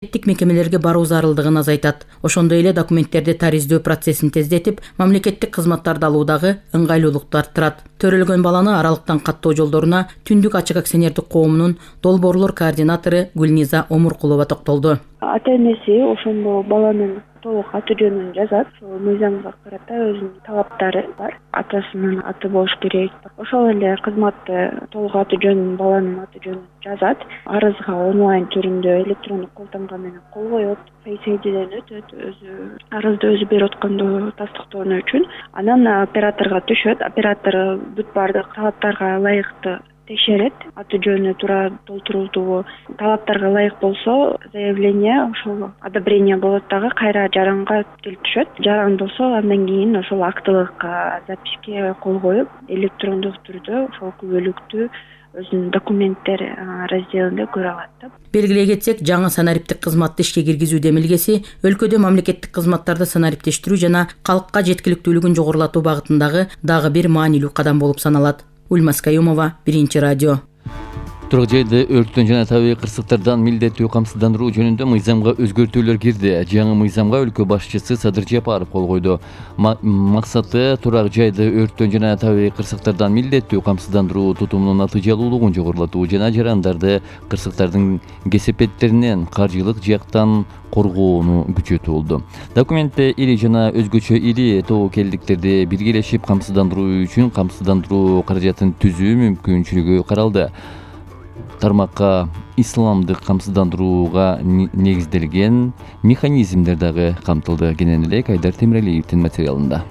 мамлекеттик мекемелерге баруу зарылдыгын азайтат. Ошондой эле документтерди тариздөө процессин тездетип, мамлекеттик кызматтарды алуудагы ыңгайлуулукту арттырат. Төрөлгөн баланы аралыктан каттоо жолдоруна Түндүк ачык акционердик коомунун долбоорлор координатору Гүлниза Омуркулова токтолду. Ата-энеси ошондо баланын толук аты жөнүн жазат. Мыйзамга карата өзүнүн талаптары бар. Атасынын аты болуш керек. Ошол эле кызматты толук аты жөнүн, баланын аты жөнүн жазат. Арызга онлайн түрүндө электрондук колтонго менен кол коет. Фейс-айдиден өтөт, арызды өзү берип атканды тастыктоо үчүн. Анан операторго түшөт. Оператор бүт баардык талаптарга ылайыктуу текшерет. Аты жөнү туура толтурулдубу, талаптарга ылайык болсо, заявление ошол одобрение болот дагы кайра жаранга келип түшөт. Жаран болсо андан кийин ошол актылык записке кол коюп, электрондук түрдө ошол күбөлүктү өзүнүн документтер разделинде көрө алат. Белгилей кетсек, жаңы санариптик кызматты ишке киргизүү демилгеси өлкөдө мамлекеттик кызматтарды санариптештирүү жана калкка жеткиликтүүлүгүн жогорулатуу багытындагы дагы бир маанилүү кадам болуп саналат. Ульмас Каюмова, Биринчи радио. Турак жайды өрттөн жана табигый кырсыктардан милдеттүү камсыздандыруу жөнүндө мыйзамга өзгөртүүлөр кирди. Жаңы мыйзамга өлкө башчысы Садыр Жапаров кол койду. Максаты турак жайды өрттөн жана табигый кырсыктардан милдеттүү камсыздандыруу тутумунун натыйжалуулугун жогорулатуу жана жарандарды кырсыктардын кесепеттеринен каржылык жактан коргоону күчөтүү болду. Документте ири жана өзгөчө ири тобокелдиктерди биргелешип камсыздандыруу үчүн камсыздандыруу каражатын түзүү мүмкүнчүлүгү каралды. Тармакка исламдык камсыздандырууга негизделген механизмдер дагы камтылды. Кенен эле Айдар Темиралиевдин материалында.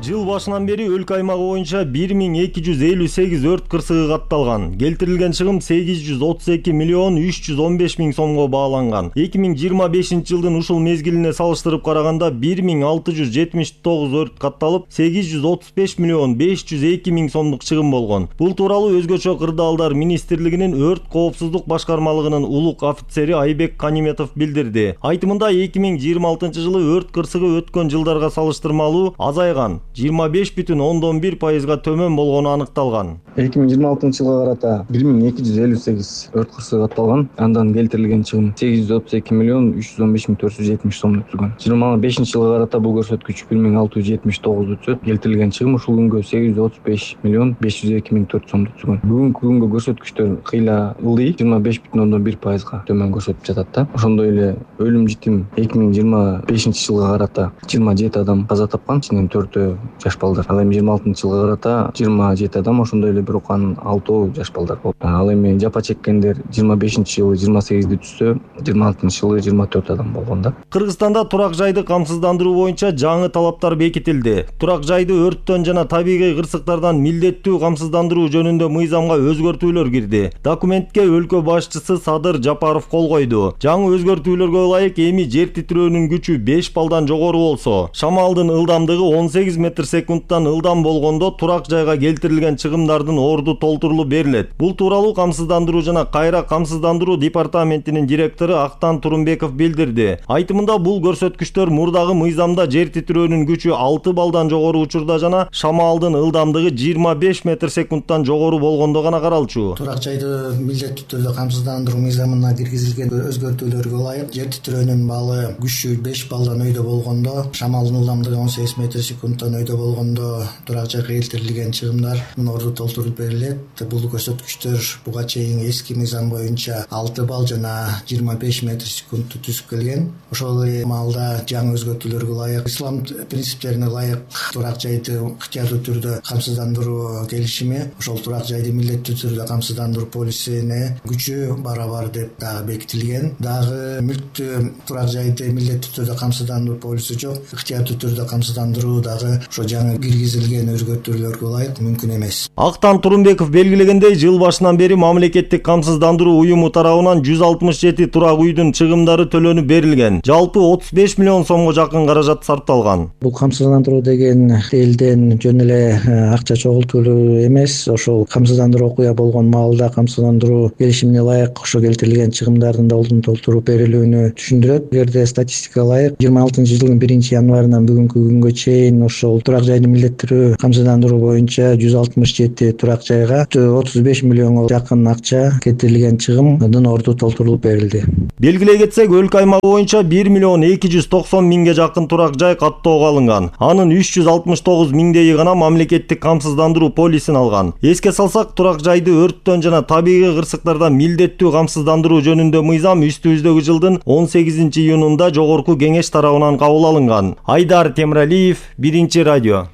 Жыл башынан бери өлкө аймагы боюнча 1258 өрт кырсыгы катталган. Келтирилген чыгым 832 миллион 315 миң сомго бааланган. 2025 жылдын ушул мезгилине салыштырып караганда 1679 өрт катталып, 835 миллион 502 миң сомдук чыгым болгон. Бул тууралуу Өзгөчө кырдаалдар министрлигинин өрт коопсуздук башкармалыгынын улук офицери Айбек Каниметов билдирди. Айтымында 2026 жылы өрт кырсыгы өткөн жылдарга салыштырмалуу азайган. 25,1%га төмөн болгону аныкталган. 2026 жылга карата 1258 өрт кырсыгы катталган. Андан келтирилген чыгым 832 миллион 315 миң 470 сомду түзгөн. 25 жылга карата бул көрсөткүч 1679 түзөт. Келтирилген чыгым ушул күнгө 835 миллион 502 миң 4 сомду түзгөн. Бүгүнкү күнгө көрсөткүчтөр кыйла ылдый, 25,1%га төмөн көрсөтүп жатат да. Ошондой эле өлүм житим 2025 жылга карата 27 адам каза тапкан, ичинен 4 жаш балдар. Ал эми 26 жылга карата 27 адам, ошондой эле бирок анын 6 жаш балдар болду. Ал эми жапа чеккендер 25 жылы 28 түзсө, 26 жылы 24 адам болгон да. Кыргызстанда турак жайды камсыздандыруу боюнча жаңы талаптар бекитилди. Турак жайды өрттөн жана табигый кырсыктардан милдеттүү камсыздандыруу жөнүндө мыйзамга өзгөртүүлөр кирди. Документке өлкө башчысы Садыр Жапаров кол койду. Жаңы өзгөртүүлөргө ылайык эми жер титирөөнүн күчү 5 балдан жогору болсо, шамалдын ылдамдыгы 18 метр секундтан ылдам болгондо турак жайга келтирилген чыгымдардын орду толтурулуп берилет. Бул тууралуу камсыздандыруу жана кайра камсыздандыруу департаментинин директору Актан Турумбеков билдирди. Айтымында бул көрсөткүчтөр мурдагы мыйзамда жер титирөөнүн күчү 6 балдан жогору учурда жана шамалдын ылдамдыгы 25 метр секундтан жогору болгондо гана каралчу. Турак жайды милдеттүү түрдө камсыздандыруу мыйзамына киргизилген өзгөртүүлөргө ылайык жер титирөөнүн балы күчү 5 балдан өйдө болгондо, шамалдын ылдамдыгы 18 метр секундтан өйдө болгондо турак жайга келтирилген чыгымдар орду толтурулуп берилет. Бул көрсөткүчтөр буга чейин эски мыйзам боюнча 6 балл жана 25 метр секундту түзүп келген. Ошол эле маалда жаңы өзгөртүүлөргө ылайык, ислам принциптерине ылайык турак жайды ыктыярдуу түрдө камсыздандыруу келишими, ошол турак жайды милдеттүү түрдө камсыздандыруу полисине күчү барабар деп дагы бекитилген. Дагы мүлктүү турак жайды милдеттүү түрдө камсыздандыруу полиси жок, ыктыярдуу түрдө камсыздандыруу дагы ошо жаңы киргизилген өзгөртүүлөргө ылайык мүмкүн эмес. Актан Турумбеков белгилегендей, жыл башынан бери мамлекеттик камсыздандыруу уюму тарабынан 167 турак үйдүн чыгымдары төлөнүп берилген. Жалпы 35 миллион сомго жакын каражат сарпталган. Бул камсыздандыруу деген элден жөн эле акча чогултуу эмес, ошол камсыздандыруу окуя болгон маалда камсыздандыруу келишимине ылайык ошо келтирилген чыгымдардын да ордун толтуруп берилүүнү түшүндүрөт. Эгерде статистикага ылайык 26 жылдын 1 январынан бүгүнкү күнгө чейин ошол ошол турак жайды милдеттүү камсыздандыруу боюнча 167 турак жайга 35 миллионго жакын акча кетирилген чыгымдын орду толтурулуп берилди. Белгилей кетсек, өлкө аймагы боюнча 1 миллион 290 миңге жакын турак жай каттоого алынган. Анын 369 миңдейи гана мамлекеттик камсыздандыруу полисин алган. Эске салсак, турак жайды өрттөн жана табигый кырсыктардан милдеттүү камсыздандыруу жөнүндө мыйзам үстүбүздөгү жылдын 18-июнунда жогорку кеңеш тарабынан кабыл алынган. Айдар Темиралиев, Биринчи радио.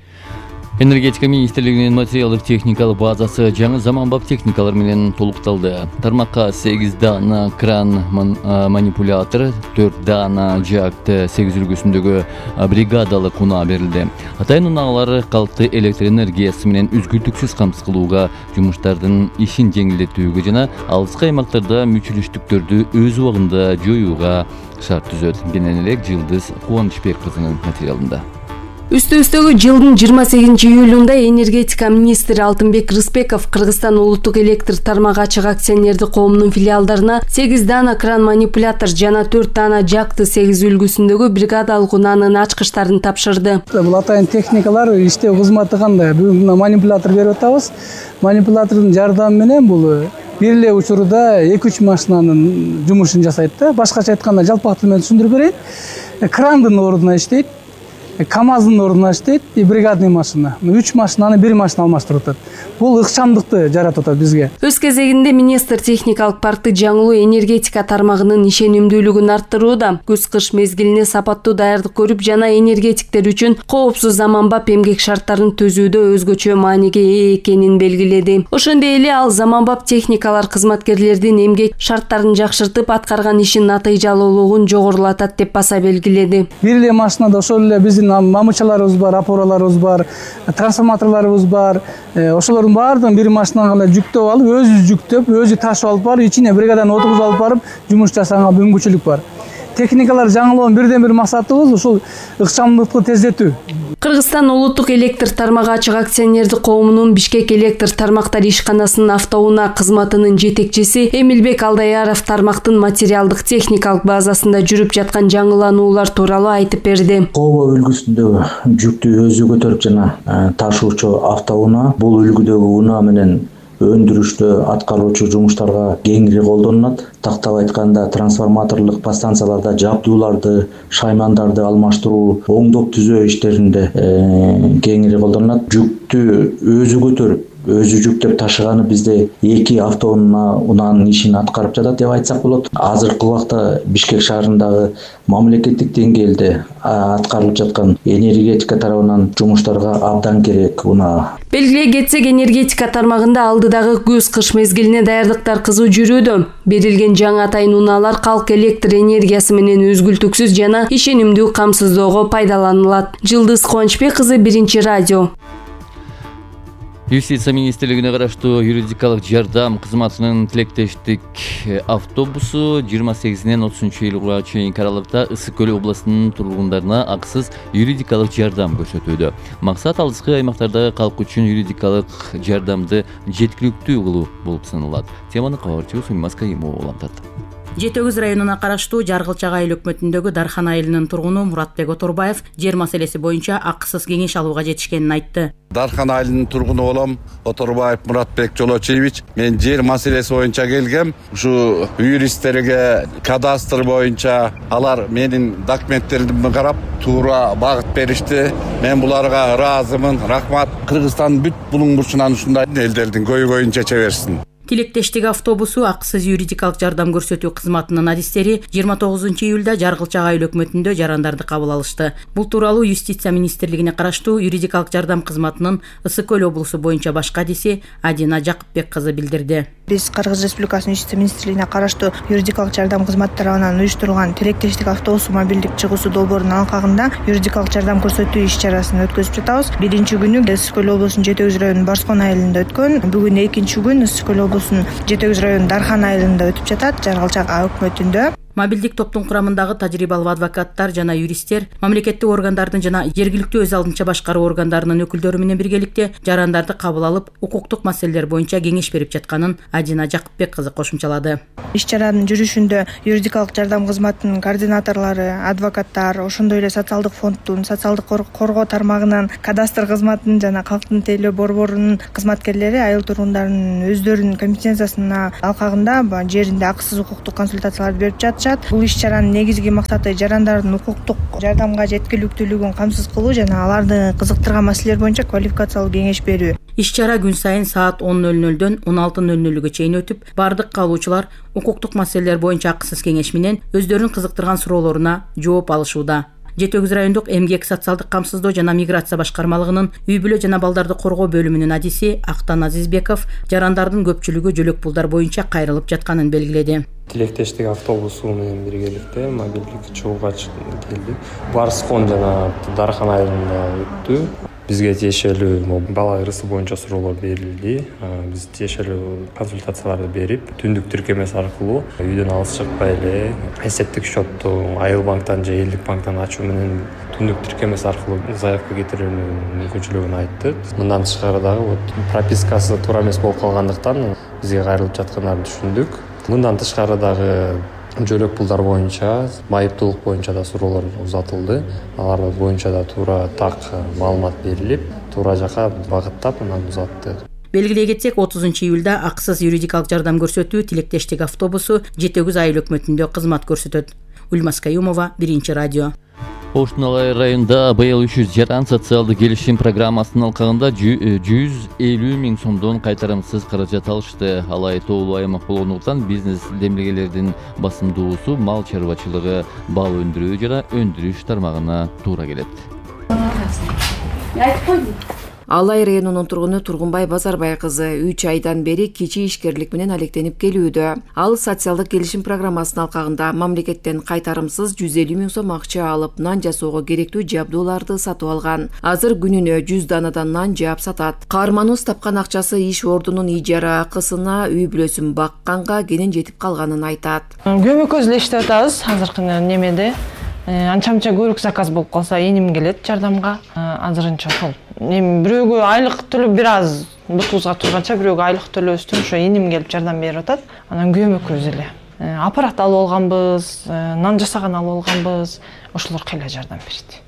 Энергетика министрлигинин материалдык техникалык базасы жаңы заманбап техникалар менен толукталды. Тармакка 8 дана кран манипулятор, 4 дана жакты 8 үлгүсүндөгү бригадалык унаа берилди. Атайын унаалар калкты электр энергиясы менен үзгүлтүксүз камсыз кылууга, жумуштардын ишин жеңилдетүүгө жана алыскы аймактарда мүчүлүштүктөрдү өз убагында жоюуга шарт түзөт. Кенен эле Жылдыз Кубанычбек кызынын материалында. Үстүбүздөгү жылдын 28-июлунда энергетика министри Алтынбек Рыспеков Кыргызстан улуттук электр тармагы ачык акционердик коомунун филиалдарына 8 дана кран манипулятор жана 4 дана жакты 8 үлгүсүндөгү бригадалык унаанын ачкычтарын тапшырды. Бул атайын техникалар иштөө кызматы кандай? Бүгүн манипулятор берип атабыз. Манипулятордун жардамы менен бул бир эле учурда 2-3 машинанын жумушун жасайт да. Башкача айтканда жалпак тил менен түшүндүрүп берейин. Крандын ордуна иштейт. КАМАЗдын ордуна иштейт, бригадный машина. 3 машинаны 1 машина алмаштырып атат. Бул ыкчамдыкты жаратып атат бизге. Өз кезегинде министр техникалык паркты жаңылуу энергетика тармагынын ишенимдүүлүгүн арттырууда, күз-кыш мезгилине сапаттуу даярдык көрүп жана энергетиктер үчүн коопсуз заманбап эмгек шарттарын түзүүдө өзгөчө мааниге ээ экенин белгиледи. Ошондой эле ал заманбап техникалар кызматкерлердин эмгек шарттарын жакшыртып, аткарган ишин натыйжалуулугун жогорулатат деп баса белгиледи. Бир эле машинада ошол эле биздин мамычаларыбыз бар, опораларыбыз бар, трансформаторлорубуз бар. Ошолордун баардыгын бир машинага эле жүктөп алып, өзү жүктөп, өзү ташып алып барып, ичине бригаданы отургузуп алып барып, жумуш жасаганга мүмкүнчүлүк бар. Техникалар жаңылоонун бирден бир максатыбыз ушул ыкчамдыкты тездетүү. Кыргызстан улуттук электр тармагы ачык акционердик коомунун Бишкек электр тармактар ишканасынын автоунаа кызматынын жетекчиси Эмилбек Алдаяров тармактын материалдык техникалык базасында жүрүп жаткан жаңылануулар тууралуу айтып берди. Кооба үлгүсүндөгү жүктү өзү көтөрүп жана ташуучу автоунаа бул үлгүдөгү унаа менен өндүрүштө аткаруучу жумуштарга кеңири колдонулат. Тактап айтканда трансформаторлук подстанцияларда жабдууларды, шаймандарды алмаштыруу, оңдоп түзөө иштеринде кеңири колдонулат. Жүктү өзү көтөрүп, өзү жүктөп ташыганы бизде 2 автоунаанын ишин аткарып жатат деп айтсак болот. Азыркы убакта Бишкек шаарындагы мамлекеттик деңгээлде аткарылып жаткан энергетика тарабынан жумуштарга абдан керек унаа. Белгилей кетсек, энергетика тармагында алдыдагы күз-кыш мезгилине даярдыктар кызуу жүрүүдө. Берилген жаңы атайын унаалар калк электр энергиясы менен үзгүлтүксүз жана ишенимдүү камсыздоого пайдаланылат. Жылдыз Кубанычбек кызы, Биринчи радио. Юстиция министрлигине караштуу юридикалык жардам кызматынын тилектештик автобусу 28-нен 30-июлга чейинки аралыкта Ысык Көл областынын тургундарына акысыз юридикалык жардам көрсөтүүдө. Максат алыскы аймактардагы калк үчүн юридикалык жардамды жеткиликтүү кылуу болуп саналат. Теманы кабарчыбыз Уммас Кайымова улантат. Жети Өгүз районуна караштуу Жаргылчак айыл өкмөтүндөгү Дархан айылынын тургуну Муратбек Оторбаев жер маселеси боюнча акысыз кеңеш алууга жетишкенин айтты. Дархан айылынын тургуну болом, Оторбаев Муратбек Жолочиевич. Мен жер маселеси боюнча келгем. Ушу юристтерге кадастр боюнча алар менин документтеримди карап, туура багыт беришти. Мен буларга ыраазымын. Рахмат. Кыргызстандын бүт булуң бурчунан ушундай элдердин көйгөйүн чече берсин. Тилектештик автобусу акысыз юридикалык жардам көрсөтүү кызматынын адистери 29-июлда Жаргылчак айыл өкмөтүндө жарандарды кабыл алышты. Бул тууралуу Юстиция министрлигине караштуу юридикалык жардам кызматынын Ысык Көл облусу боюнча баш кадиси Адина Жакыпбек кызы билдирди. Биз Кыргыз Республикасынын Юстиция министрлигине караштуу юридикалык жардам кызматы тарабынан уюштурулган тилектештик автобусу мобилдик чыгуусу долбоорунун алкагында юридикалык жардам көрсөтүү иш-чарасын өткөзүп жатабыз. Биринчи күнү Ысык Көл облусунун Жети Өгүз районунун Барскон айылында өткөн. Бүгүн экинчи күн Ысык Көл облусунун Жети Өгүз районунун Дархан айылында өтүп жатат, Жаргылчак өкмөтүндө. Мобилдик топтун курамындагы тажрыйбалуу адвокаттар жана юристтер мамлекеттик органдардын жана жергиликтүү өз алдынча башкаруу органдарынын өкүлдөрү менен биргеликте жарандарды кабыл алып, укуктук маселелер боюнча кеңеш берип жатканын Адина Жакыпбек кызы кошумчалады. Иш чаранын жүрүшүндө юридикалык жардам кызматынын координаторлору, адвокаттар, ошондой эле социалдык фонддун, социалдык коргоо тармагынын, кадастр кызматынын жана калктын тейлөө борборунун кызматкерлери айыл тургундарынын өздөрүнүн компетенциясына алкагында жеринде акысыз укуктук консультацияларды берип жатышат. Бул иш чаранын негизги максаты жарандардын укуктук жардамга жеткиликтүүлүгүн камсыз кылуу жана аларды кызыктырган маселелер боюнча квалификациялуу кеңеш берүү. Иш чара күн сайын саат 10:00дөн 16:00га чейин өтүп, бардык каалоочулар укуктук маселелер боюнча акысыз кеңеш менен өздөрүнүн кызыктырган суроолоруна жооп алышууда. Жети Өгүз райондук эмгек, социалдык камсыздоо жана миграция башкармалыгынын үй бүлө жана балдарды коргоо бөлүмүнүн адиси Актан Азизбеков жарандардын көпчүлүгү жөлөк пулдар боюнча кайрылып жатканын белгиледи. Тилектештик автобусу менен биргеликте мобилдик чыгууга келди. Барс фон жана дархан айылында өттү. Бизге тиешелүү бала ырысы боюнча суроолор берилди. Биз тиешелүү консультацияларды берип, түндүк тиркемеси аркылуу үйдөн алыс чыкпай эле эсептик счетту Айыл банктан же Элдик банктан ачуу менен түндүк тиркемеси аркылуу заявка кетирүүнүн мүмкүнчүлүгүн айтты. Мындан тышкары дагы пропискасы туура эмес болуп калгандыктан бизге кайрылып жаткандарын түшүндүк. Мындан тышкары дагы жөлөк пулдар боюнча, майыптуулук боюнча да суроолор узатылды. Алар боюнча да туура так маалымат берилип, туура жака багыттап анан узатты. Белгилей кетсек, 30-июлда акысыз юридикалык жардам көрсөтүү тилектештик автобусу Жети Өгүз айыл өкмөтүндө кызмат көрсөтөт. Ульмас Каюмова, Биринчи радио. Оштун Алай районунда быйыл 300 жаран социалдык келишим программасынын алкагында 150 миң сомдон кайтарымсыз каражат алышты. Алай тоолуу аймак болгондуктан бизнес демилгелердин басымдуусу мал чарбачылыгы, бал өндүрүү жана өндүрүш тармагына туура келет. Алай районунун тургуну Тургунбай Базарбай кызы 3 айдан бери кичи ишкерлик менен алектенип келүүдө. Ал социалдык келишим программасынын алкагында мамлекеттен кайтарымсыз 150 миң сом акча алып, нан жасоого керектүү жабдууларды сатып алган. Азыр күнүнө 100 данадан нан жаап сатат. Каарманыбыз тапкан акчасы иш ордунун ижара акысына, үй бүлөсүн бакканга кенен жетип калганын айтат. Көмөкөз эле иштеп атабыз азыркы немеде. Анча-мынча көрүк заказ болуп калса эним келет жардамга. Азырынча ошол. Бирөөгө айлык төлөп бир аз бутубузга турганча бирөөгө айлык төлөбөстөн ошо эним келип жардам берип атат. Анан көмөкөз эле. Аппарат алып алганбыз, нан жасаган алып алганбыз. Ошолор кыйла жардам берди.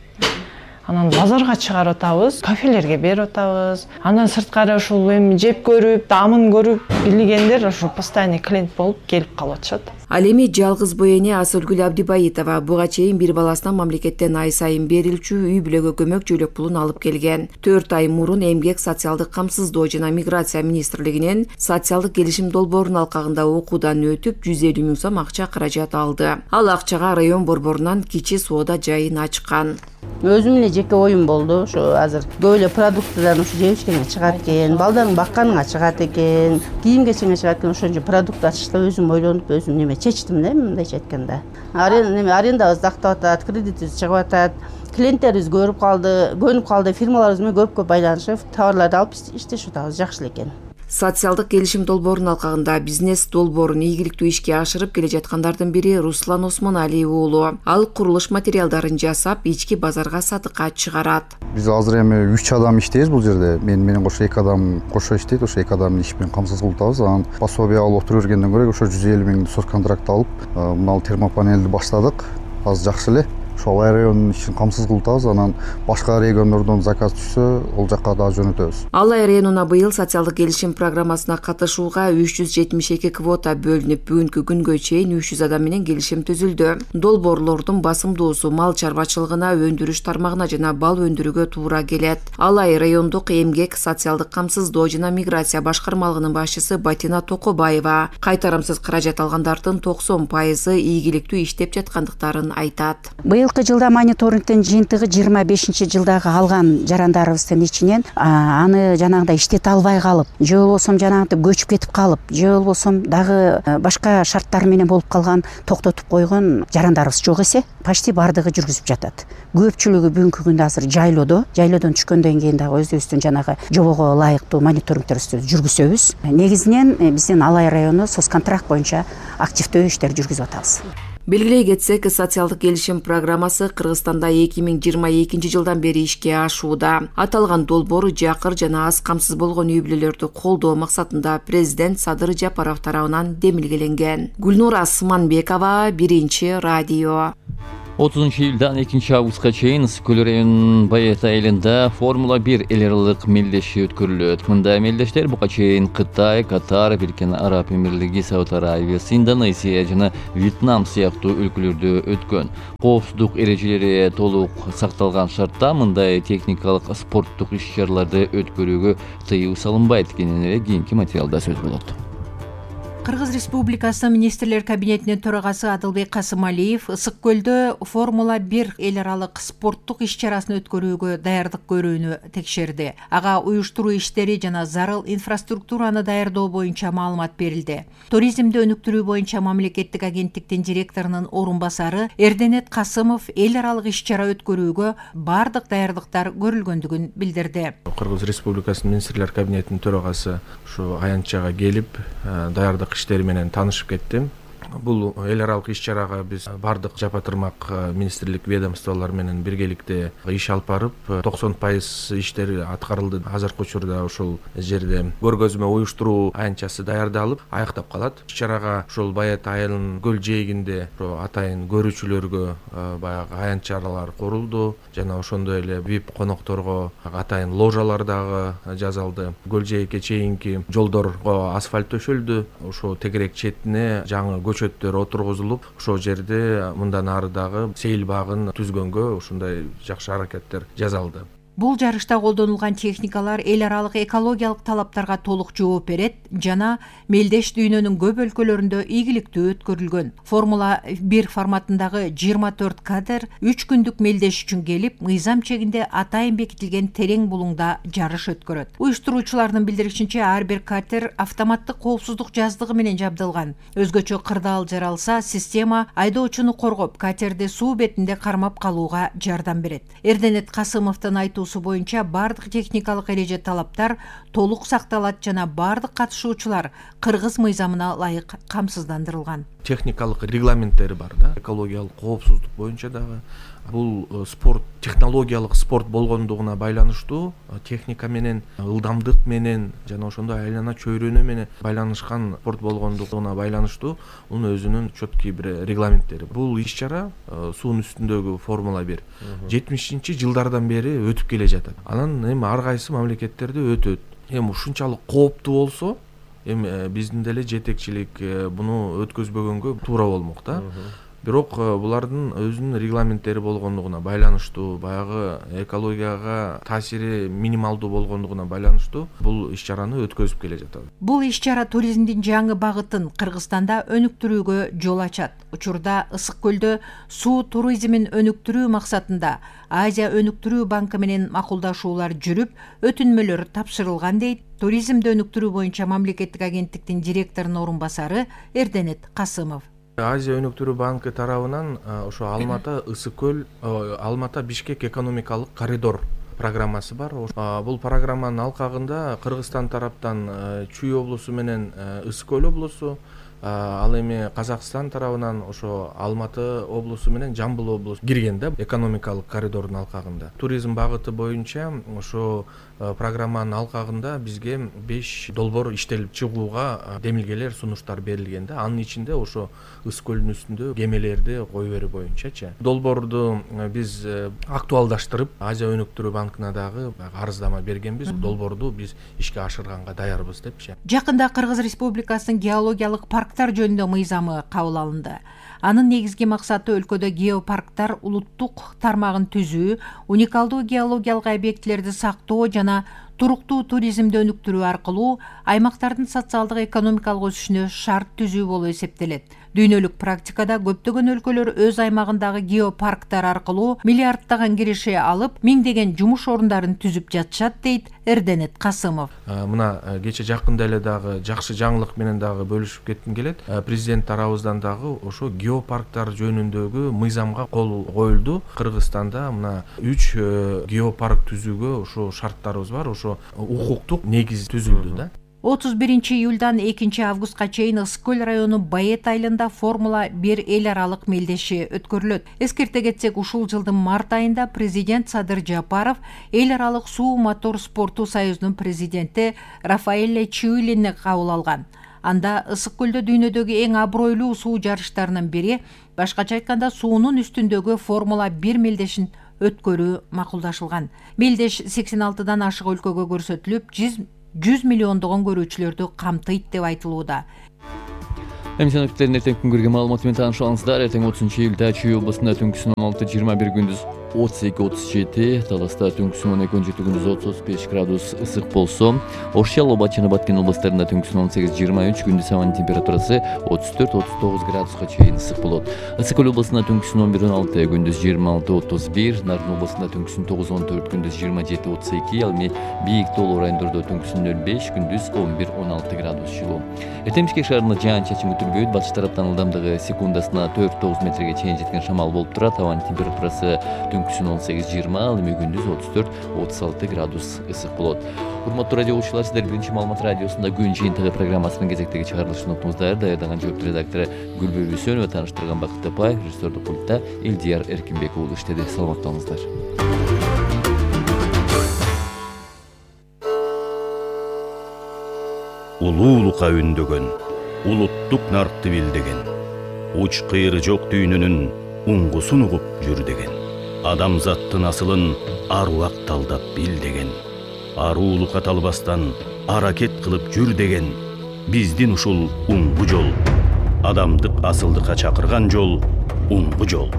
Анан базарга чыгарып атабыз, кафелерге берип атабыз. Андан сырткары ушул эми жеп көрүп, дамын көрүп, билгендер ошо постоянный клиент болуп келип калып атышат. Ал эми жалгыз бой эне Асылгүл Абдибаитова буга чейин бир баласына мамлекеттен ай сайын берилчү үй бүлөгө көмөк жөлөк пулун алып келген. 4 ай мурун эмгек, социалдык камсыздоо жана миграция министрлигинен социалдык келишим долбоорунун алкагында окуудан өтүп 150 миң сом акча каражат алды. Ал акчага район борборунан кичи соода жайын ачкан. Өзүм эле жеке оюм болду. Ошо азыр көп эле продуктыдан ушу жебишкенге чыгат экен, балдарын бакканга чыгат экен, кийим кечеңе чыгат экен. Ошончо продукт ачышта өзүм ойлонуп, өзүм неме чечтим да, мындайча айтканда. Арендабыз актап атат, кредитибиз чыгып атат. Клиенттерибиз көнүп калды, фирмаларыбыз менен көп байланышып, товарларды алып иштешип атабыз, жакшы эле экен. Социалдык келишим долбоорунун алкагында бизнес долбоорун ийгиликтүү ишке ашырып келе жаткандардын бири Руслан Осмоналиев уулу. Ал курулуш материалдарын жасап, ички базарга сатыкка чыгарат. Биз азыр эми 3 адам иштейбиз бул жерде. Мен менен кошо 2 адам кошо иштейт. Ошо 2 адамдын иш менен камсыз кылып атабыз. Анан пособие алып отура бергенден көрө ошо 150 миң соцконтракт алып, мына термопанелди баштадык. Азыр жакшы эле. Ошол Алай районунун ишин камсыз кылып атабыз. Анан башка региондордон заказ түшсө, ол жакка да жөнөтөбүз. Алай районуна быйыл социалдык келишим программасына катышууга 372 квота бөлүнүп, бүгүнкү күнгө чейин 300 адам менен келишим түзүлдү. Долбоорлордун басымдуусу мал чарбачылыгына, өндүрүш тармагына жана бал өндүрүүгө туура келет. Алай райондук эмгек, социалдык камсыздоо жана миграция башкармалыгынын башчысы Батина Токобаева кайтарымсыз каражат алгандардын 90% ийгиликтүү иштеп жаткандыктарын айтат. Быйылкы жылда мониторингдин жыйынтыгы 25-жылдагы алган жарандарыбыздын ичинен аны жанагындай иштете албай калып, же болбосо жанагынтип көчүп кетип калып, же болбосо дагы башка шарттар менен болуп калган, токтотуп койгон жарандарыбыз жок эсе, почти бардыгы жүргүзүп жатат. Көпчүлүгү бүгүнкү күндө азыр жайлоодон түшкөндөн кийин дагы өзүбүздүн жанагы жобого ылайыктуу мониторингтерибизди жүргүзөбүз. Негизинен биздин Алай району соцконтракт боюнча активдүү иштер жүргүзүп атабыз. Белгилей кетсек, социалдык келишим программасы Кыргызстанда 2022 жылдан бери ишке ашууда. Аталган долбоор жакыр жана аз камсыз болгон үй бүлөлөрдү колдоо максатында президент Садыр Жапаров тарабынан демилгеленген. Гүлнура Сыманбекова, Биринчи радио. 30 июлдан 2 августка чейин Ысык-Көл районунун Байет айылында Формула 1 эл аралык мелдеши өткөрүлөт. Мында мелдештер буга чейин Кытай, Катар, Бириккен Араб Эмирлиги, Сауд Арабиясы, Индонезия жана Вьетнам сыяктуу өлкөлөрдө өткөн. Коопсуздук эрежелери толук сакталган шартта мындай техникалык спорттук иш-чараларды өткөрүүгө тыюу салынбайт экенине кийинки материалда сөз болот. Кыргыз Республикасы Министрлер кабинетинин төрагасы Адылбек Касымалиев Ысык-Көлдө Формула 1 эл аралык спорттук иш-чарасын өткөрүүгө даярдык көрүүнү текшерди. Ага уюштуруу иштери жана зарыл инфраструктураны даярдоо боюнча маалымат берилди. Туризмди өнүктүрүү боюнча мамлекеттик агенттиктин директорунун орун басары Эрденет Касымов эл аралык иш-чара өткөрүүгө бардык даярдыктар көрүлгөндүгүн билдирди. Кыргыз Республикасынын Министрлер кабинетинин төрагасы ушу аянтчага келип даярдык иштери менен таанышып кеттим. Бул эл аралык иш-чарага биз бардык жапа-тырмак министрлик ведомстволор менен биргеликте иш алып барып, 90% иштер аткарылды. Азыркы учурда ушул жерде көргөзмө уюштуруу аянтчасы даярдалып, аяктап калат. Иш-чарага ушул Байет айылынын көл жээгинде атайын көрүүчүлөргө баягы аянтчалар курулду жана ошондой эле VIP конокторго атайын ложалар дагы жасалды. Көл жээкке чейинки жолдорго асфальт төшөлдү. Ошо тегерек четине жаңы көчөттөр отургузулуп, ошол жерде мындан ары дагы сейил багын түзгөнгө ушундай жакшы аракеттер жасалды. Бул жарышта колдонулган техникалар эл аралык экологиялык талаптарга толук жооп берет жана мелдеш дүйнөнүн көп өлкөлөрүндө ийгиликтүү өткөрүлгөн. Формула 1 форматындагы 24 катер 3 күндүк мелдеш үчүн келип, мыйзам чегинде атайын бекитилген терең булуңда жарыш өткөрөт. Уюштуруучулардын билдиришинче, ар бир катер автоматтык коопсуздук жаздыгы менен жабдылган. Өзгөчө кырдаал жаралса, система айдоочуну коргоп, катерди суу бетинде кармап калууга жардам берет. Эрденет Касымовдун айтуусу боюнча бардык техникалык эреже талаптар толук сакталат жана бардык катышуучулар кыргыз мыйзамына ылайык камсыздандырылган. Техникалык регламенттери бар да, экологиялык коопсуздук боюнча дагы. Бул спорт, технологиялык спорт болгондугуна байланыштуу, техника менен, ылдамдык менен жана ошондой айлана чөйрөнү менен байланышкан спорт болгондугуна байланыштуу мунун өзүнүн чөткү бир регламенттери. Бул иш-чара суунун үстүндөгү Формула 1 70-жылдардан бери өтүп келе жатат. Анан эми ар кайсы мамлекеттерде өтөт. Эми ушунчалык кооптуу болсо, эми биздин деле жетекчилик буну өткөзбөгөнгө туура болмок да. Бирок булардын өзүнүн регламенттери болгондугуна байланыштуу, баягы экологияга таасири минималдуу болгондугуна байланыштуу бул иш-чараны өткөзүп келе жатат. Бул иш-чара туризмдин жаңы багытын Кыргызстанда өнүктүрүүгө жол ачат. Учурда Ысык-Көлдө суу туризмин өнүктүрүү максатында Азия өнүктүрүү банкы менен макулдашуулар жүрүп, өтүнмөлөр тапшырылган дейт туризмди өнүктүрүү боюнча мамлекеттик агенттиктин директорунун орун басары Эрденет Касымов. Азия өнүктүрүү банкы тарабынан ошо Алмата, Ысык-Көл, Алмата Бишкек экономикалык коридор программасы бар. Бул программанын алкагында Кыргызстан тараптан Чүй облусу менен Ысык-Көл облусу, ал эми Казакстан тарабынан ошо Алматы облусу менен Жамбыл облусу кирген да экономикалык коридордун алкагында. Туризм багыты боюнча ошо программанын алкагында бизге 5 долбоор иштелип чыгууга демилгелер, сунуштар берилген да. Анын ичинде ошо Ысык-Көлдүн үстүндө кемелерди кое берүү боюнчачы. Долбоорду биз актуалдаштырып, Азия өнүктүрүү банкына дагы арыздама бергенбиз. Долбоорду биз ишке ашырганга даярбыз депчи. Жакында Кыргыз Республикасынын геологиялык парктар жөнүндө мыйзамы кабыл алынды. Анын негизги максаты өлкөдө геопарктар улуттук тармагын түзүү, уникалдуу геологиялык объектилерди сактоо жана туруктуу туризмди өнүктүрүү аркылуу аймактардын социалдык экономикалык өсүшүнө шарт түзүү болуп эсептелет. Дүйнөлүк практикада көптөгөн өлкөлөр өз аймагындагы геопарктар аркылуу миллиарддаган киреше алып, миңдеген жумуш орундарын түзүп жатышат, дейт Эрденет Касымов. Мына кече жакында эле дагы жакшы жаңылык менен дагы бөлүшүп кетким келет. Президент тарабыбыздан дагы ошо геопарктар жөнүндөгү мыйзамга кол коюлду. Кыргызстанда мына 3 геопарк түзүүгө ошо шарттарыбыз бар, ошо укуктук негиз түзүлдү да. 31 июлдан 2 августка чейин Ысык көл району Баэт айылында Формула 1 эл аралык мелдеши өткөрүлөт. Эскерте кетсек, ушул жылдын март айында президент Садыр Жапаров эл аралык суу мотор спорту союзунун президенти Рафаэле Чиулини кабыл алган. Анда Ысык көлдө дүйнөдөгү эң абройлуу суу жарыштарынын бири, башкача айтканда суунун үстүндөгү Формула 1 мелдешин өткөрүү макулдашылган. Мелдеш 86дан ашык өлкөгө көрсөтүлүп, 100 миллиондогон көрүүчүлөрдү камтыйт деп айтылууда. Эмсиновдердин эртең күнгөргө маалыматы менен таанышуулаңыздар. Эртең 30 июлда Чүй областында түнкүсүн 16-21 күндүз 32-37, Таласта түнкүсүн 12-17 күндүз 30-35 градус ысык болсо, Ош Жалал жана Баткен областарында түнкүсүн 18-23, күндүз абанын температурасы 34-39 градуска чейин ысык болот. Ысык көл областында түнкүсүн 11-16, күндүз 26-31, Нарын областында түнкүсүн 9-14, күндүз 27-32, ал эми бийик тоолуу райондордо түнкүсүн 05, күндүз 11-16 градус жылуу. Эртең Бишкек шаарында жаан-чачын күтүлбөйт. Батыш тараптан ылдамдыгы секундасына 4-9 метрге чейин жеткен шамал болуп турат. Абанын температурасы түнкүсүн 18-20, ал эми күндүз 34-36 градус ысык болот. Урматтуу радио угуучулар, сиздер Биринчи маалымат радиосунда күн жыйынтыгы программасынын кезектеги чыгарылышын уктуңуздар. Даярдаган жооптуу редактору Гүлбөр Үсөнова, тааныштырган Бакыт Тапай, режиссердук пультта Элдияр Эркинбек уулу иштеди. Саламатта болуңуздар. Улуулукка үндөгөн, улуттук наркты билдеген, уч кыйры жок дүйнөнүн уңгусун угуп жүр деген, адамзаттын асылын аруак талдап бил деген, аруулукка талбастан аракет кылып жүр деген, биздин ушул уңгу жол, адамдык асылдыкка чакырган жол, уңгу жол.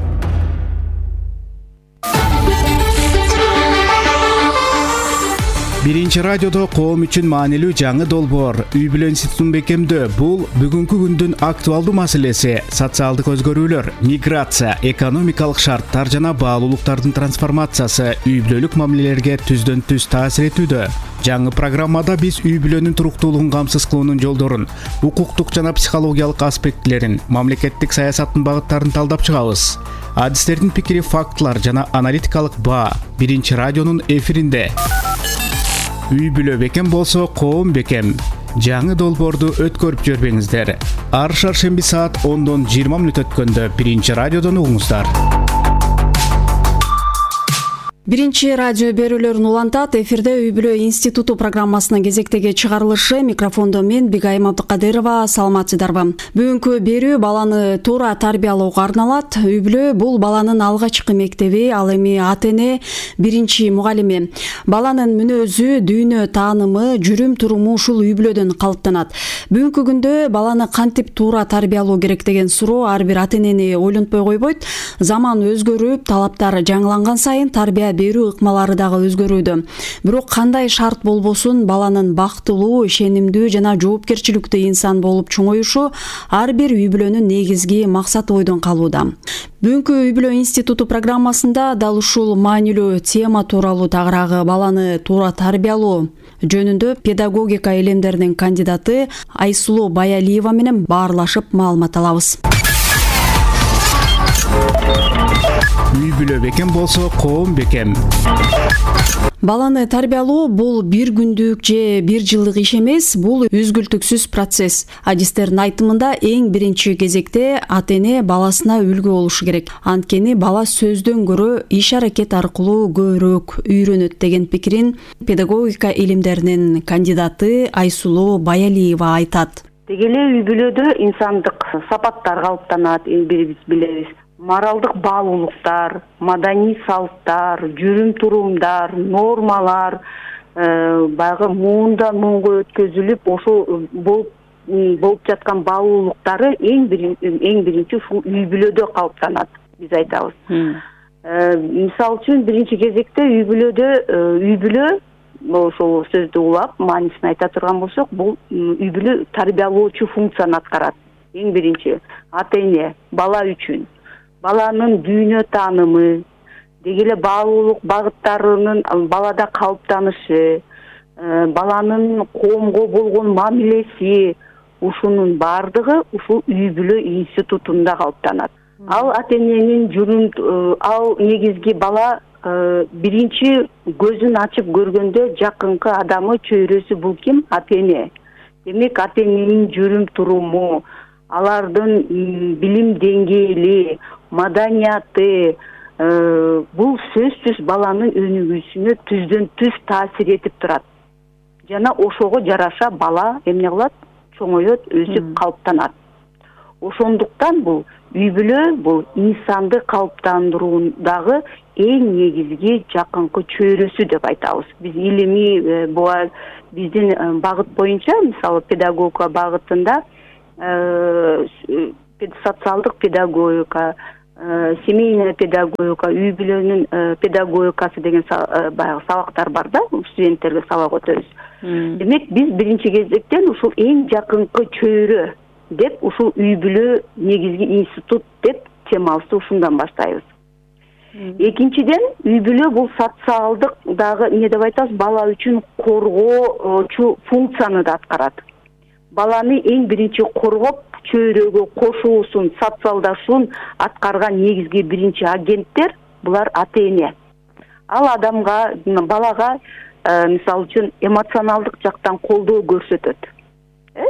Биринчи радиодо коом үчүн маанилүү жаңы долбоор үй бүлө институтун бекемдөө. Бул бүгүнкү күндүн актуалдуу маселеси. Социалдык өзгөрүүлөр, миграция, экономикалык шарттар жана баалуулуктардын трансформациясы үй бүлөлүк мамилелерге түздөн түз таасир этүүдө. Жаңы программада биз үй бүлөнүн туруктуулугун камсыз кылуунун жолдорун, укуктук жана психологиялык аспектилерин, мамлекеттик саясаттын багыттарын талдап чыгабыз. Адистердин пикири, фактылар жана аналитикалык баа Биринчи радионун эфиринде. Үй бүлө бекем болсо, коом бекем. Жаңы долбоорду өткөрүп жүрбөңүздөр. Ар шаршемби саат 10:20 өткөндө Биринчи радиодон угуңуздар. Биринчи радио берүүлөрүн улантат. Эфирде үй бүлө институту программасынын кезектеги чыгарылышы. Микрофондо мен Бигайым Абдыкадырова. Саламатсыздарбы? Бүгүнкү берүү баланы туура тарбиялоого арналат. Үй бүлө бул баланын алгачкы мектеби, ал эми ата-эне биринчи мугалими. Баланын мүнөзү, дүйнө таанымы, жүрүм туруму ушул үй бүлөдөн калыптанат. Бүгүнкү күндө баланы кантип туура тарбиялоо керек деген суроо ар бир ата-энени ойлонтпой койбойт. Заман өзгөрүп, талаптар жаңыланган сайын тарбия берүү ыкмалары дагы өзгөрүүдө. Бирок кандай шарт болбосун, баланын бактылуу, ишенимдүү жана жоопкерчиликтүү инсан болуп чоңоюшу ар бир үй бүлөнүн негизги максаты ойдон калууда. Бүгүнкү үй бүлө институту программасында дал ушул маанилүү тема тууралуу тагыраагы баланы туура тарбиялоо жөнүндө педагогика илимдеринин кандидаты Айсулуу Баялиева менен баарлашып маалымат алабыз. Үй бүлө бекем болсо, коом бекем. Баланы тарбиялоо бул бир күндүк же бир жылдык иш эмес, бул үзгүлтүксүз процесс. Адистердин айтымында эң биринчи кезекте ата-эне баласына үлгү болушу керек. Анткени бала сөздөн көрө иш аракет аркылуу көбүрөөк үйрөнөт деген пикирин педагогика илимдеринин кандидаты Айсулуу Баялиева айтат. Деги эле үй бүлөдө инсандык сапаттар калыптанат, бирибиз билебиз. Моралдык баалуулуктар, маданий салттар, жүрүм турумдар, нормалар баягы муундан муунга өткөзүлүп, ошол болуп жаткан баалуулуктары эң биринчи ушул үй бүлөдө калыптанат, биз айтабыз. Мисалы үчүн биринчи кезекте үй бүлө ошол сөздү улап, маанисин айта турган болсок, бул үй бүлө тарбиялоочу функцияны аткарат. Эң биринчи ата-эне бала үчүн баланын дүйнө таанымы, деги эле баалуулук багыттарынын балада калыптанышы, баланын коомго болгон мамилеси, ушунун баардыгы ушул үй бүлө институтунда калыптанат. Ал ата-эненин ал негизги бала биринчи көзүн ачып көргөндө жакынкы адамы, чөйрөсү бул ким? Ата-эне. демек ата эненин жүрүм туруму, алардын билим деңгээли, маданияты бул сөзсүз баланын өнүгүүсүнө түздөн түз таасир этип турат. Жана ошого жараша бала эмне кылат? Чоңоет, өсүп калыптанат. Ошондуктан бул үй бүлө бул инсанды калыптандыруудагы эң негизги жакынкы чөйрөсү деп айтабыз. Биз илимий биздин багыт боюнча, мисалы педагогика багытында социалдык педагогика, семейная педагогика, үй бүлөнүн педагогикасы деген баягы сабактар бар да, студенттерге сабак өтөбүз. Демек биз биринчи кезектен ушул эң жакынкы чөйрө деп ушул үй бүлө негизги институт деп темабызды ушундан баштайбыз. Экинчиден, үй бүлө бул социалдык дагы эмне деп айтабыз, бала үчүн коргоочу функцияны да аткарат. Баланы эң биринчи коргоп, чөйрөгө кошуусун, социалдашуун аткарган негизги биринчи агенттер булар ата эне. Ал адамга, балага мисалы үчүн эмоционалдык жактан колдоо көрсөтөт.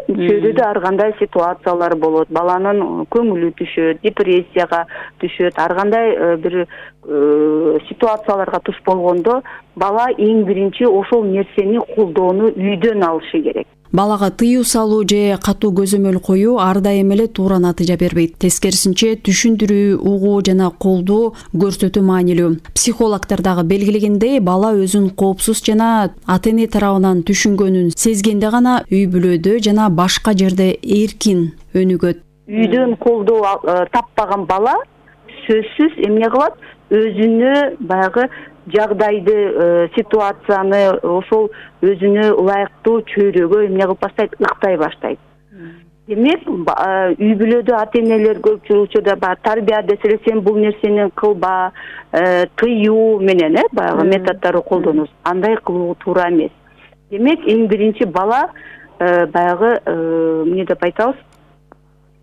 Чөйрөдө ар кандай ситуациялар болот, баланын көңүлү түшөт, депрессияга түшөт, ар кандай бир ситуацияларга туш болгондо бала эң биринчи ошол нерсени колдоону үйдөн алышы керек. Балага тыюу салуу же катуу көзөмөл коюу ар дайым эле туура натыйжа бербейт. Тескерисинче түшүндүрүү, угуу жана колдоо көрсөтүү маанилүү. Психологдор дагы белгилегендей, бала өзүн коопсуз жана ата эне тарабынан түшүнгөнүн сезгенде гана үй бүлөдө жана башка жерде эркин өнүгөт. Үйдөн колдоо таппаган бала сөзсүз эмне кылат? Өзүнө баягы жагдайды, ситуацияны ошол өзүнө ылайыктуу чөйрөгө эмне кылып баштайт, ыктай баштайт. Демек, үй бүлөдө ата энелер көпчүлүк учурда тарбия десе сен бул нерсени кылба, тыюу менен баягы методдорду колдонобуз. Андай кылуу туура эмес. Демек, эң биринчи бала баягы эмне деп айтабыз?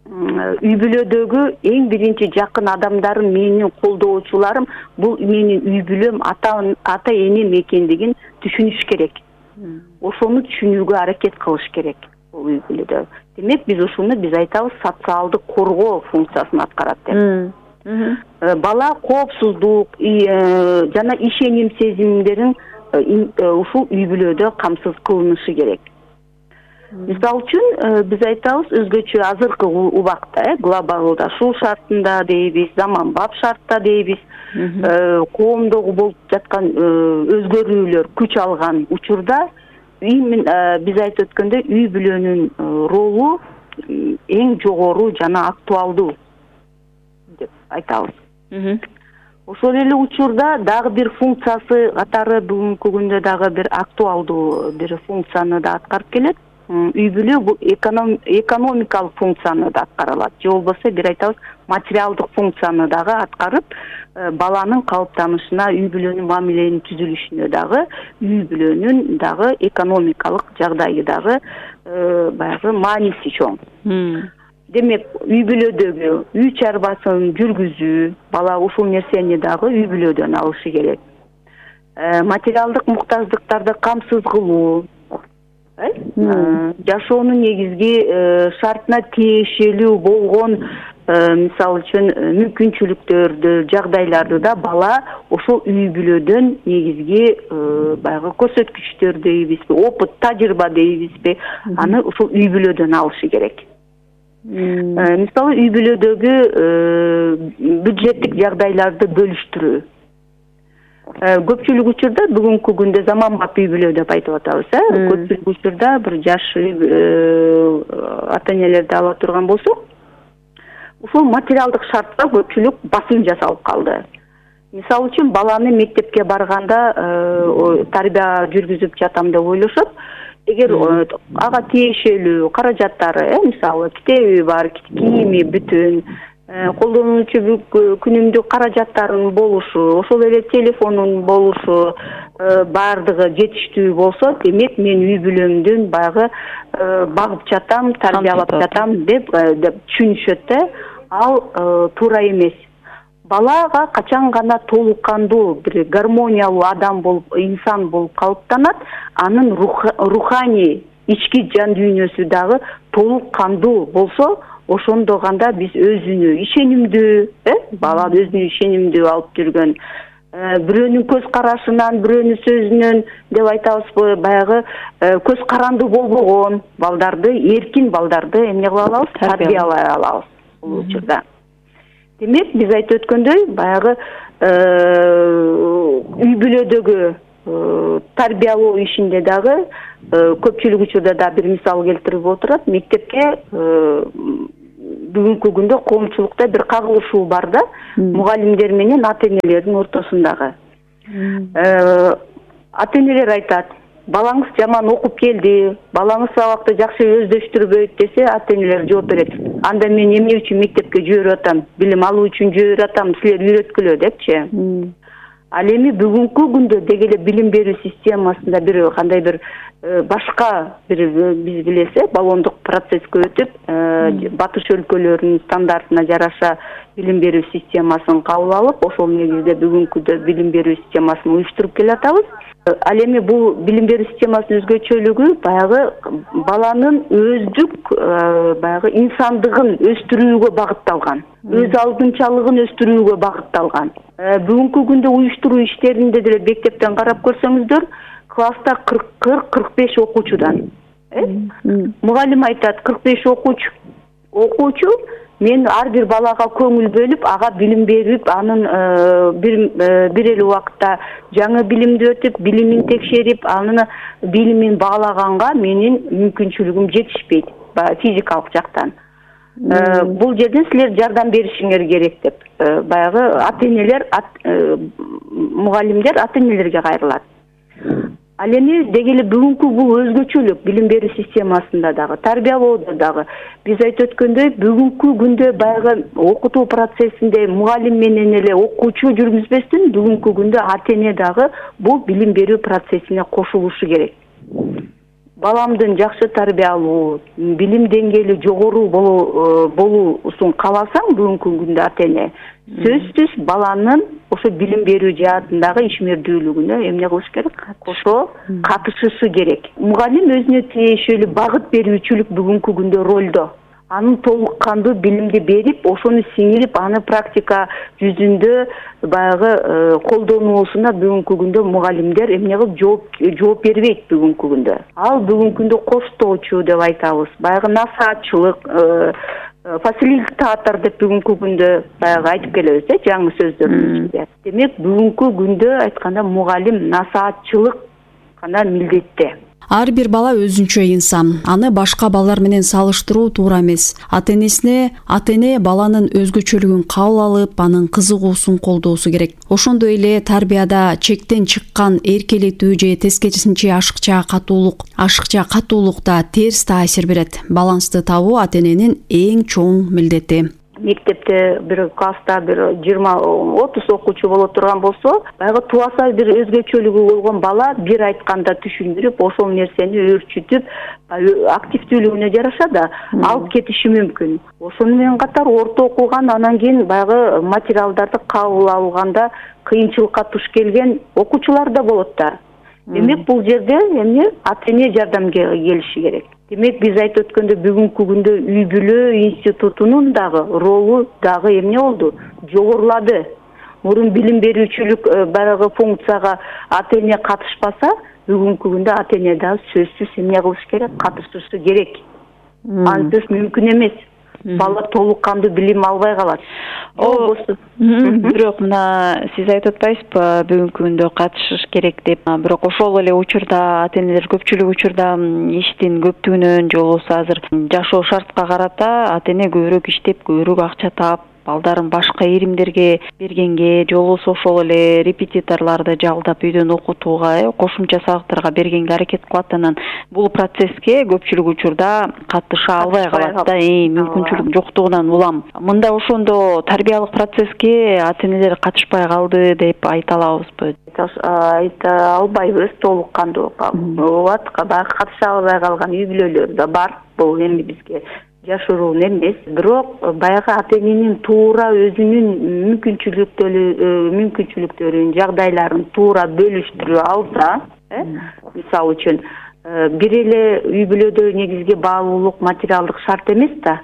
Үй бүлөдөгү эң биринчи жакын адамдарым, менин колдоочуларым, бул менин үй бүлөм, ата энем экендигин түшүнүш керек. Ошону түшүнүүгө аракет кылыш керек бул үй бүлөдө. Демек, биз айтабыз социалдык коргоо функциясын аткарат деп. Бала коопсуздук жана ишеним сезимдерин ушул үй бүлөдө камсыз кылынышы керек. Мисалы үчүн биз айтабыз өзгөчө азыркы убакта глобалдашуу шартында дейбиз, заманбап шартта дейбиз, коомдогу болуп жаткан өзгөрүүлөр күч алган учурда биз айтып өткөндөй үй бүлөнүн ролу эң жогору жана актуалдуу деп айтабыз. Ошол эле учурда дагы бир функциясы катары бүгүнкү күндө дагы бир актуалдуу бир функцияны да аткарып келет. Үй бүлө бул экономикалык функцияны да аткаралат. Же болбосо бир айтабыз материалдык функцияны дагы аткарып, баланын калыптанышына, үй бүлөнүн мамиленин түзүлүшүнө дагы, үй бүлөнүн дагы экономикалык жагдайы дагы баягы мааниси чоң. Демек, үй бүлөдөгү үй чарбасын жүргүзүү, бала ушул нерсени дагы үй бүлөдөн алышы керек. Материалдык муктаждыктарды камсыз кылуу, жашоонун негизги шартына тиешелүү болгон мисалы үчүн мүмкүнчүлүктөрдү, жагдайларды да бала ошол үй бүлөдөн негизги баягы көрсөткүчтөр дейбизби, опыт, тажрыйба дейбизби, аны ушул үй бүлөдөн алышы керек. Мисалы үй бүлөдөгү бюджеттик жагдайларды бөлүштүрүү. Көпчүлүк учурда бүгүнкү күндө заманбап үй бүлө деп айтып атабыз. Көпчүлүк учурда бир жаш ата энелерди ала турган болсок, ушул материалдык шартка көпчүлүк басым жасалып калды. Мисалы үчүн баланы мектепке барганда тарбия жүргүзүп жатам деп ойлошот. Эгер ага тиешелүү каражаттары, мисалы китеби бар, кийими бүтүн, колдонуучу күнүмдүк каражаттарын болушу, ошол эле телефонун болушу баардыгы жетиштүү болсо, демек мен үй бүлөмдүн баягы багып жатам, тарбиялап жатам деп түшүнүшөт да. Ал туура эмес. Балага качан гана толук кандуу бир гармониялуу адам болуп, инсан болуп калыптанат, анын руханий ички жан дүйнөсү дагы толук кандуу болсо, ошондо гана биз өзүнө ишенимдүү, бала өзүнө ишенимдүү алып жүргөн, бирөөнүн көз карашынан, бирөөнүн сөзүнөн деп айтабызбы, баягы көз карандуу болбогон балдарды, эркин балдарды эмне кыла алабыз? Тарбиялай алабыз бул учурда. Демек, биз айтып өткөндөй, баягы үй бүлөдөгү тарбиялоо ишинде дагы көпчүлүк учурда да бир мисал келтирип отурат. Мектепке бүгүнкү күндө коомчулукта бир кагылышуу бар да, мугалимдер менен ата-энелердин ортосундагы. Ата-энелер айтат, балаңыз жаман окуп келди, балаңыз сабакты жакшы өздөштүрбөйт десе, ата-энелер жооп берет. Анда мен эмне үчүн мектепке жиберип атам? Билим алуу үчүн жиберип атам, силер үйрөткүлө депчи. Ал эми бүгүнкү күндө деги эле билим берүү системасында бир кандай бир башка бир биз билесе, баллондук процесске өтүп, батыш өлкөлөрүнүн стандартына жараша билим берүү системасын кабыл алып, ошол негизде бүгүнкүдө билим берүү системасын уюштуруп келатабыз. Ал эми бул билим берүү системасынын өзгөчөлүгү баягы баланын өздүк баягы инсандыгын өстүрүүгө багытталган, өз алдынчалыгын өстүрүүгө багытталган. Бүгүнкү күндө уюштуруу иштеринде деле мектептен карап көрсөңүздөр, класста 40-45 окуучудан. Мугалим айтат, 45 окуучу, мен ар бир балага көңүл бөлүп, ага билим берип, анын бир эле убакытта жаңы билимди өтүп, билимин текшерип, анын билимин баалаганга менин мүмкүнчүлүгүм жетишпейт, физикалык жактан. Бул жерден силер жардам беришиңер керек деп, баягы ата-энелер, мугалимдер ата-энелерге кайрылат. Ал эми деги эле бүгүнкү бул өзгөчөлүк билим берүү системасында дагы, тарбиялоодо дагы биз айтып өткөндөй, бүгүнкү күндө баягы окутуу процессинде мугалим менен эле окуучу жүргүзбөстөн, бүгүнкү күндө ата-эне дагы бул билим берүү процессине кошулушу керек. Баламдын жакшы тарбиялуу, билим деңгээли жогору болуусун кааласаң, бүгүнкү күндө ата-эне сөзсүз баланын ошо билим берүү жаатындагы ишмердүүлүгүнө эмне кылыш керек? Кошо катышышы керек. Мугалим өзүнө тиешелүү багыт берүүчүлүк бүгүнкү күндө ролдо. Анын толук кандуу билимди берип, ошону сиңирип, аны практика жүзүндө баягы колдонуусуна бүгүнкү күндө мугалимдер эмне кылып жооп бербейт бүгүнкү күндө. Ал бүгүнкү күндө коштоочу деп айтабыз. Баягы насаатчылык, фасилитатор деп бүгүнкү күндө баягы айтып келебиз, жаңы сөздөрдүн ичинде. Демек, бүгүнкү күндө айтканда мугалим насаатчылык гана милдетте. Ар бир бала өзүнчө инсан. Аны башка балдар менен салыштыруу туура эмес. Ата-эне баланын өзгөчөлүгүн кабыл алып, анын кызыгуусун колдоосу керек. Ошондой эле тарбияда чектен чыккан эркелетүү же тескерисинче ашыкча катуулук да терс таасир берет. Балансты табуу ата-эненин эң чоң милдети. Мектепте бир класста бир 20-30 окуучу боло турган болсо, баягы тубаса бир өзгөчөлүгү болгон бала бир айтканда түшүндүрүп, ошол нерсени өөрчүтүп, активдүүлүгүнө жараша да алып кетиши мүмкүн. Ошону менен катар орто окуган, анан кийин баягы материалдарды кабыл алганда кыйынчылыкка туш келген окуучулар да болот да. Демек, бул жерде эмне ата-эне жардамга келиши керек. Демек, биз айтып өткөндө бүгүнкү күндө үй бүлө институтунун дагы ролу дагы эмне болду? Жогорулады. Мурун билим берүүчүлүк баягы функцияга ата-эне катышпаса, бүгүнкү күндө ата-эне дагы сөзсүз эмне кылыш керек? Катышышы керек. Ансыз мүмкүн эмес. Бала толук кандуу билим албай калат. Бирок мына сиз айтып атпайсызбы, бүгүнкү күндө катышыш керек деп. Бирок ошол эле учурда ата-энелер көпчүлүк учурда иштин көптүгүнөн же болбосо азыр жашоо шартка карата ата-эне көбүрөөк иштеп, көбүрөөк акча таап, балдарын башка иримдерге бергенге, же болбосо ошол эле репетиторлорду жалдап үйдөн окутууга, кошумча сабактарга бергенге аракет кылат. Анан бул процесске көпчүлүк учурда катыша албай калат да, мүмкүнчүлүк жоктугунан улам. Мында ошондо тарбиялык процесске ата-энелер катышпай калды деп айта алабызбы? Айта албайбыз, толук кандуу катыша албай калган үй бүлөлөр да бар. Бул эми бизге жашыруун эмес, бирок баягы ата-эненин туура өзүнүн мүмкүнчүлүктөрүн, жагдайларын туура бөлүштүрө алса, мисалы үчүн бир эле үй бүлөдө негизги баалуулук материалдык шарт эмес да.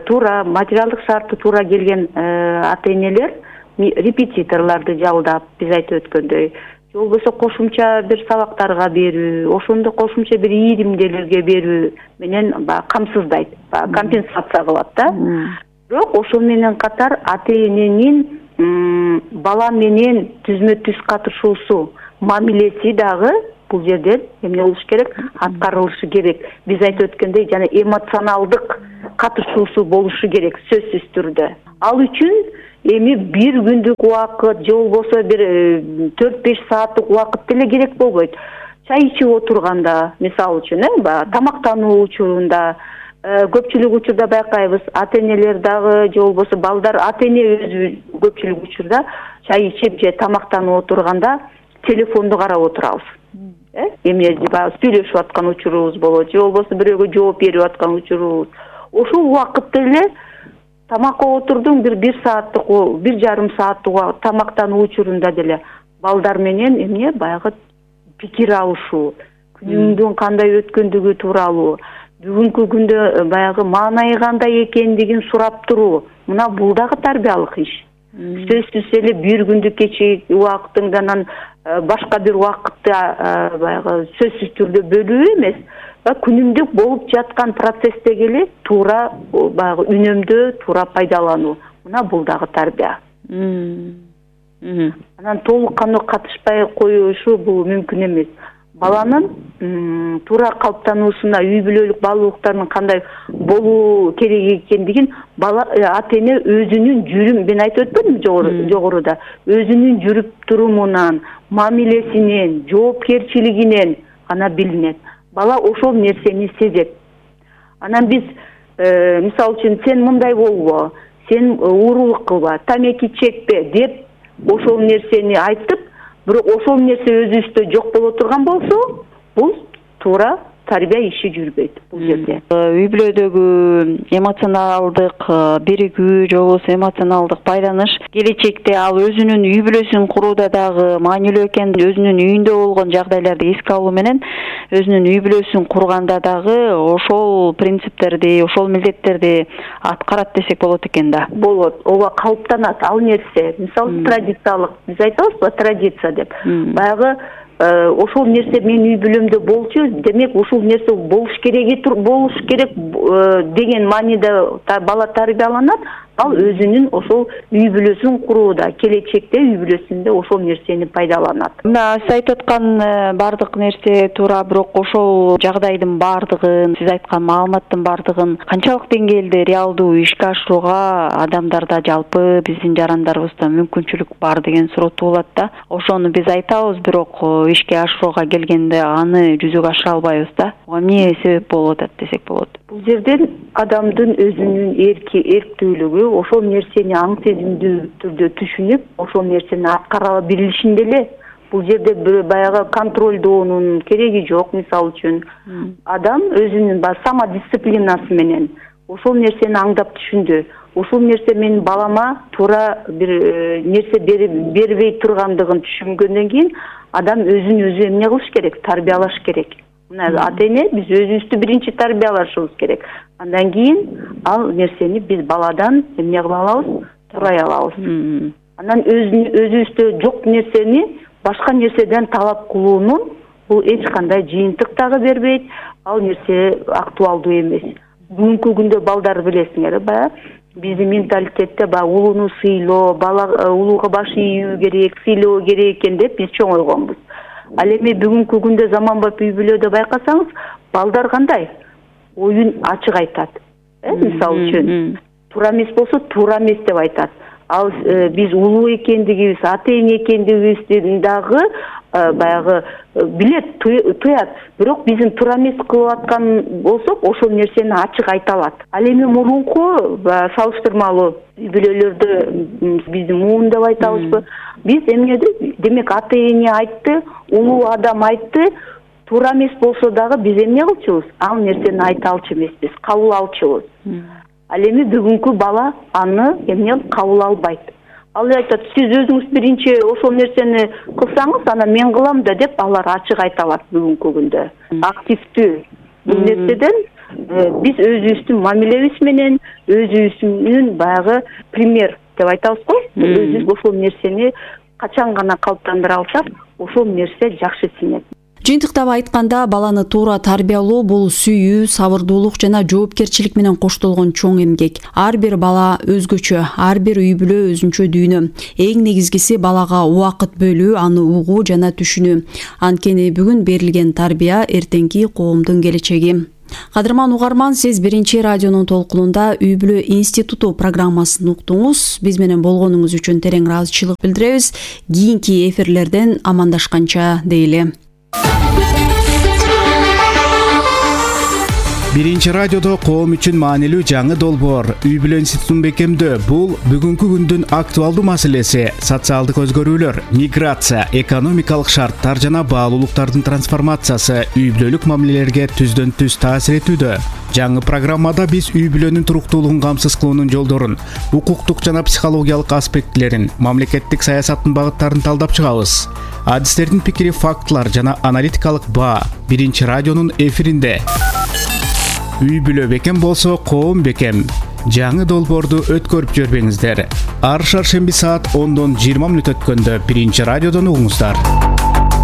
Туура материалдык шарты туура келген ата энелер репетиторлорду жалдап, биз айтып өткөндөй, же болбосо кошумча бир сабактарга берүү, ошондо кошумча бир ийримделерге берүү менен камсыздайт, компенсация кылат да. Бирок ошол менен катар ата эненин бала менен түзмө-түз катышуусу, мамилеси дагы бул жерден эмне болуш керек? Аткарылышы керек. Биз айтып өткөндөй, жана эмоционалдык катышуусу болушу керек сөзсүз түрдө. Ал үчүн эми бир күндүк убакыт же болбосо бир 4-5 сааттык убакыт деле керек болбойт. Чай ичип отурганда, мисалы үчүн, тамактануу учурунда, көпчүлүк учурда байкайбыз, ата энелер дагы же болбосо балдар, ата эне өзү көпчүлүк учурда чай ичип же тамактанып отурганда телефонду карап отурабыз. Эмне сүйлөшүп аткан учурубуз болот, же болбосо бирөөгө жооп берип аткан учурубуз. Ошол убакытта эле тамакка отурдуң бир сааттык, 1,5 сааттык тамактануу учурунда деле балдар менен эмне баягы пикир алышуу, күнүңдүн кандай өткөндүгү тууралуу, бүгүнкү күндө баягы маанайы кандай экендигин сурап туруу. Мына бул дагы тарбиялык иш. Сөзсүз эле бир күндүк кечээ убактыңдан башка бир убакытты баягы сөзсүз түрдө бөлүү эмес, күнүмдүк болуп жаткан процесстеги эле туура баягы үнөмдөө, туура пайдалануу. Мына бул дагы тарбия. Анан толук кандуу катышпай коюшу бул мүмкүн эмес. Баланын туура калыптануусуна, үй бүлөлүк баалуулуктарынын кандай болуу керек экендигин ата эне өзүнүн мен айтып өтпөдүмбү жогоруда, өзүнүн жүрүп турумунан, мамилесинен, жоопкерчилигинен гана билинет. Бала ошол нерсени сезет. Анан биз мисалы үчүн сен мындай болбо, сен уурулук кылба, тамеки чекпе деп ошол нерсени айтып, бирок ошол нерсе өзүбүздө жок боло турган болсо, бул туура тарбия иши жүрбөйт бул жерде. Үй бүлөдөгү эмоционалдык биригүү же болбосо эмоционалдык байланыш келечекте ал өзүнүн үй бүлөсүн курууда дагы маанилүү экенин, өзүнүн үйүндө болгон жагдайларды эске алуу менен өзүнүн үй бүлөсүн курганда дагы ошол принциптерди, ошол милдеттерди аткарат десек болот экен да. Болот, ооба калыптанат ал нерсе. Мисалы традициялык, биз айтабызбы, традиция деп. Баягы ошол нерсе менин үй бүлөмдө болчу, демек ушул нерсе болуш керек деген мааниде бала тарбияланат. Ал өзүнүн ошол үй бүлөсүн курууда, келечекте үй бүлөсүндө ошол нерсени пайдаланат. Мына сиз айтып аткан бардык нерсе туура, бирок ошол жагдайдын бардыгын, сиз айткан маалыматтын бардыгын канчалык деңгээлде реалдуу ишке ашырууга адамдарда, жалпы биздин жарандарыбызда мүмкүнчүлүк бар деген суроо туулат да. Ошону биз айтабыз, бирок ишке ашырууга келгенде аны жүзөгө ашыра албайбыз да. Ага эмне себеп болуп атат десек болот? Бул жерден адамдын өзүнүн эрктүүлүгү, ошол нерсени аң сезимдүү түрдө түшүнүп, ошол нерсени аткара билишинде эле. Бул жерде баягы контролдоонун кереги жок. Мисалы үчүн, адам өзүнүн самодисциплинасы менен ошол нерсени аңдап түшүндү. Ошол нерсе менин балама туура бир нерсе бербей тургандыгын түшүнгөндөн кийин адам өзүн өзү эмне кылыш керек? Тарбиялаш керек. Мына ата эне биз өзүбүздү биринчи тарбиялашыбыз керек. Андан кийин ал нерсени биз баладан эмне кыла алабыз? Турай алабыз. Анан өзүбүздө жок нерсени башка нерседен талап кылуунун бул эч кандай жыйынтык дагы бербейт. Ал нерсе актуалдуу эмес. Бүгүнкү күндө балдар билесиңер, биздин менталитетте улууну сыйлоо, бала улууга баш ийүү керек, сыйлоо керек экен деп биз чоңойгонбуз. Ал эми бүгүнкү күндө заманбап үй бүлөдө байкасаңыз, балдар кандай? Оюн ачык айтат. Мисалы үчүн, туура эмес болсо туура эмес деп айтат. Ал биз улуу экендигибиз, ата эне экендигибизди дагы баягы билет, туят. Бирок биздин туура эмес кылып аткан болсок, ошол нерсени ачык айта алат. Ал эми мурунку салыштырмалуу үй бүлөлөрдө биздин муун деп айтабызбы? Биз эмнеди? Демек ата эне айтты, улуу адам айтты, туура эмес болсо дагы биз эмне кылчубуз? Ал нерсени айта алчу эмеспиз, кабыл алчубуз. Ал эми бүгүнкү бала аны эмне кабыл албайт. ал айтат, сиз өзүңүз биринчи ошол нерсени кылсаңыз, анан мен кылам да деп алар ачык айта алат бүгүнкү күндө. Активдүү бул нерседен биз өзүбүздүн мамилебиз менен, өзүбүздүн баягы пример деп айтабыз го. Өзүбүз ошол нерсени качан гана калыптандыра алсак, ошол нерсе жакшы сиңет. Жыйынтыктап айтканда, баланы туура тарбиялоо бул сүйүү, сабырдуулук жана жоопкерчилик менен коштолгон чоң эмгек. Ар бир бала өзгөчө, ар бир үй бүлө өзүнчө дүйнө. Эң негизгиси балага убакыт бөлүү, аны угуу жана түшүнүү. Анткени бүгүн берилген тарбия эртеңки коомдун келечеги. Кадырман угарман, сиз биринчи радионун толкунунда Үй бүлө институту программасын уктуңуз. Биз менен болгонуңуз үчүн терең ыраазычылык билдиребиз. Кийинки эфирлерден амандашканча дейли. Биринчи радиодо коом үчүн маанилүү жаңы долбоор Үй бүлө институтун бекемдөө. Бул бүгүнкү күндүн актуалдуу маселеси. Социалдык өзгөрүүлөр, миграция, экономикалык шарттар жана баалуулуктардын трансформациясы үй бүлөлүк мамилелерге түздөн түз таасир этүүдө. Жаңы программада биз үй бүлөнүн туруктуулугун камсыз кылуунун жолдорун, укуктук жана психологиялык аспектилерин, мамлекеттик саясаттын багыттарын талдап чыгабыз. Адистердин пикири, фактылар жана аналитикалык баа биринчи радионун эфиринде. Үй бүлө бекем болсо, коом бекем. Жаңы долбоорду өткөрүп жүрбөңүздөр. Ар шаршемби саат 10-20 өткөндө биринчи радиодон угуңуздар.